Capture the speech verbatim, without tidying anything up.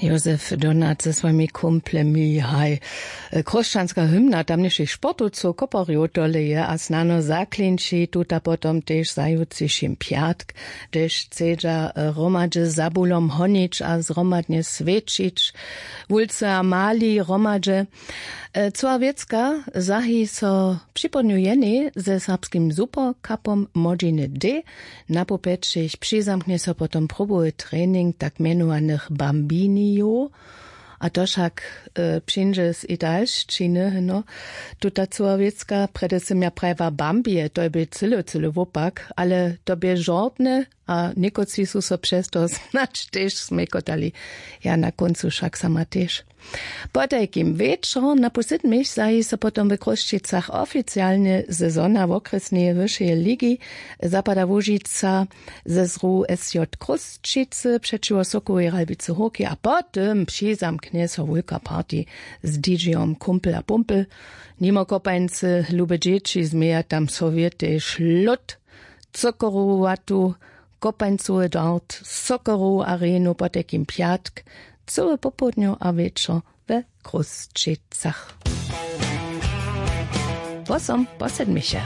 Józef Donat ze swojimi kumplemi haj. Chróšćanska hymna tamnišich sportowcow koparjow toleje a snano zaklinči tuta potom tež za jutřišim pjatk, hdyž chcedźa hromadźe za bulom honić a zhromadnje swěćić, wulcy a mali hromadźe. Cyła wěcka zahi so připołdnju jenej ze serbskim superkapom młodźiny d. Napołpjećich přizamknje so potom probowy trening tak mjenowanych bambinijow. A to wšak přińdźe z italšćiny heno. Tuta cyła wěcka prjedy sym ja prajiła bambije to je bě cyle cyle wopak ale to bě žortne. A někotři su so přez to snadź tež smjekotali. Ja na kóncu wšak sama tež. Potajkim wječor na pół sydmich zahi so potom w chrósćicach oficialnje sezona wokrjesneje wyšeje ligi zapada łužica ze zru sj chrósćicy přećiwo sokołej ralbicy hórki a po tym přizamknje so wulka party z dj-om kumpel a pumpel. Nimo kopańcy lube dźěći změja tam sowjetej šlód cokorowatu kopańcowy dart sokorowu arenu potajkim pjatk, cyły popołdnju a wječor we chrósćicach. Wosom po sedmiche.